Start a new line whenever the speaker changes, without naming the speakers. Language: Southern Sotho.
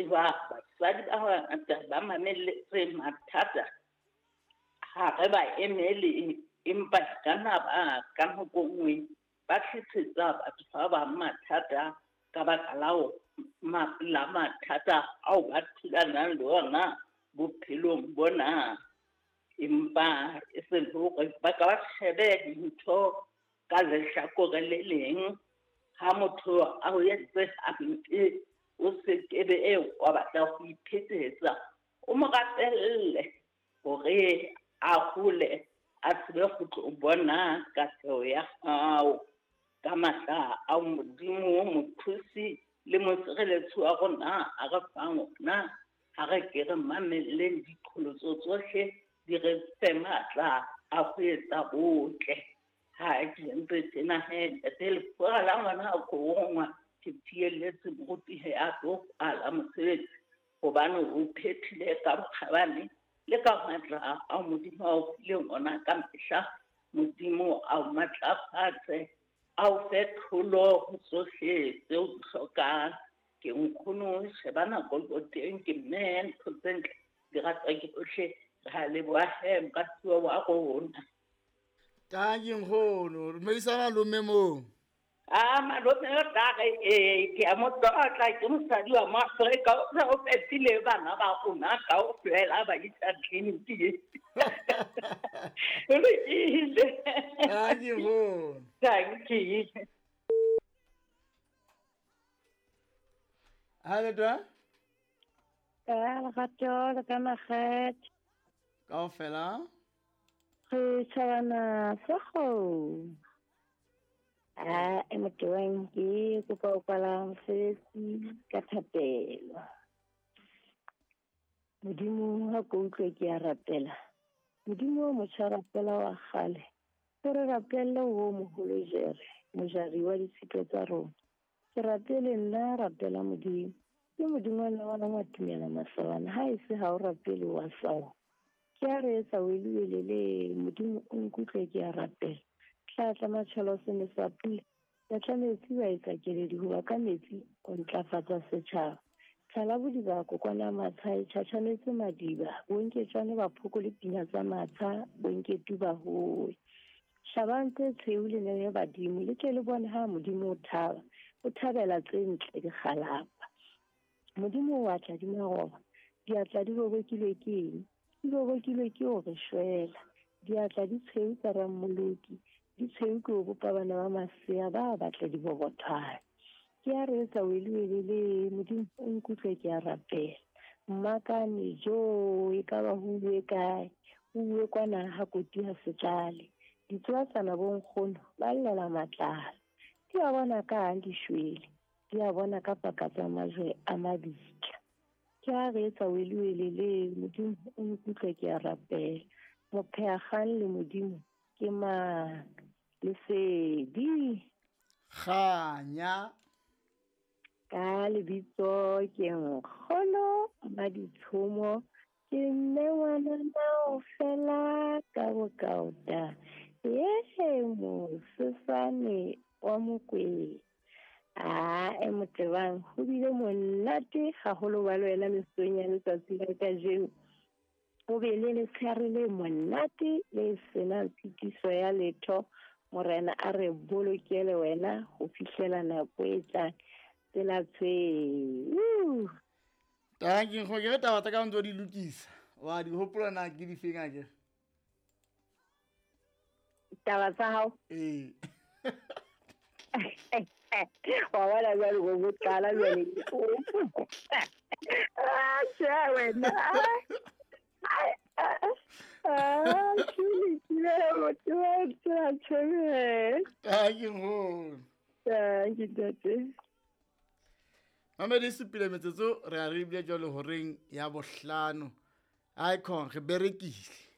tseba basadi ba bangata ba mamelletse mathata ha re ba emele, empa ka na ba ka nako nngwe ba tlisetsa batho ba bang mathata ka baka la mathata ao ba thulanang le ona bophelong bona. Empa e se le hore ba ka ba shebe dintho ka lehlakore le leng. Ha motho a o entse hampe, o se kebe wa batla ho iphetetsa, o mo rapelle hore a hole, a tsebe ho tlo bona katleho ya hao. Ka matla a Modimo, mothusi le mosireletsi wa rona a re fang ona, ha re ke re mamelleng diqholotso tsohle, di re fe matla a ho etsa botle. Ha ke entse tjena he, ntate Lefura la ngwana a korongwa, ke tielletse moruti he a tlo kwala mosebetsi, hobane o phethile ka bokgabane le ka matla a Modimo a o fileng ona ka mehla. Modimo a o matlafatse, a o fe tlholo ho tsohle tseo di hlokang. Ke nkgono, sheba nako le teng, ke mme ntho tse ntle di ratwa ke bohle. Re a leboha he, moratuwa wa rona.
Tanki nkgono, dumedisa malome moo.
A malome o tla re ee, ke a mo tlotla, ke mosadi wa mo Afrika, o se o fetile bana ba rona kaofela ba isa tleliniking. O lokile.
Tanki nkgono.
Tanki.
Ha le twa?
Ka lerato le ka makgethe.
Kaofela.
Re tjhabana sa kgomo. A e motewang ke kopa ho kwala mosebetsi ka thapelo. Modimo ha ko utlwe ke a rapela. Modimo o motjha rapela wa kgale. O re rapelle o moholo jere, mojari wa ditshito tsa rona. Ke rapele nna rapela Modimo. Ke Modimo wa ngwana wa tumela masawana, ha e se ha o rapele wa sawa. Ke a re etsa weliwelele, Modimo o nkutlwe ke a rapela. Tla tla matjhelo se ne sa pula. Ya tla metsi wa etsa keledi hoba ka metsi o ntlafatsa setjhaba. Tlala bodiba kokwana matsha e tjhatjhametse madiba, bonketswane ba phoko le pina tsa matsha, bonketu ba howe. Hlabang tse tshweu le nene badimo, le tle le bone ha Modimo o thaba, o thabela tse ntle dikgalapa. Modimo o atla di maroba, diatla di bobokilwe ke eng? Di bobokilwe ke ho re shwela. Diatla di tshweu tsa Rammoloki, di tshweu ke ho bopa bana ba masea ba batla dibobothwane. Ke a re etsa weliwelele, Modimo o nkutlwe ke a rapela. Mmakane jo, e ka ba ho uwe kae? Ho uwe kwana ha koti ha se tlale. Ditsoatsana bo nkgono ba llela matlalo. Di a bona ka hang di shwele, di a bona ka paka tsa majwe a mabitla. Ke a re etsa weliwelele, Modimo o nkutlwe ke a rapela. Mopheakgang le Modimo ke mang? Lesedi.
Kganya.
Ka lebitso ke nkgono Maditshomo, ke mme ngwanana o fela ka bokaota. Ye mosesane wa Mokwena. A e motebang ho bile monate haholo ba le wena mesong ya letsatsi la kajeno. O be le letshehare le monate le senang tshitiso ya letho. Morena a re bolokele wena ho fihlela nako e tlang. Tsela tshweu.
Tanki nkgono, ke re taba tsa ka ntse o di lokisa. Wa di hopola na ke di feng akere?
Taba tsa hao?
Ee.
Wa bona jwale bo bo qala jwale. Ah, tjhe wena. Ah, ke lokile, motho wa tsela tjhe.
Tanki nkgono.
Tanki ntate.
Mamedi supile metsotso re a re bile jwale horeng ya bohlano. Icon re berekile.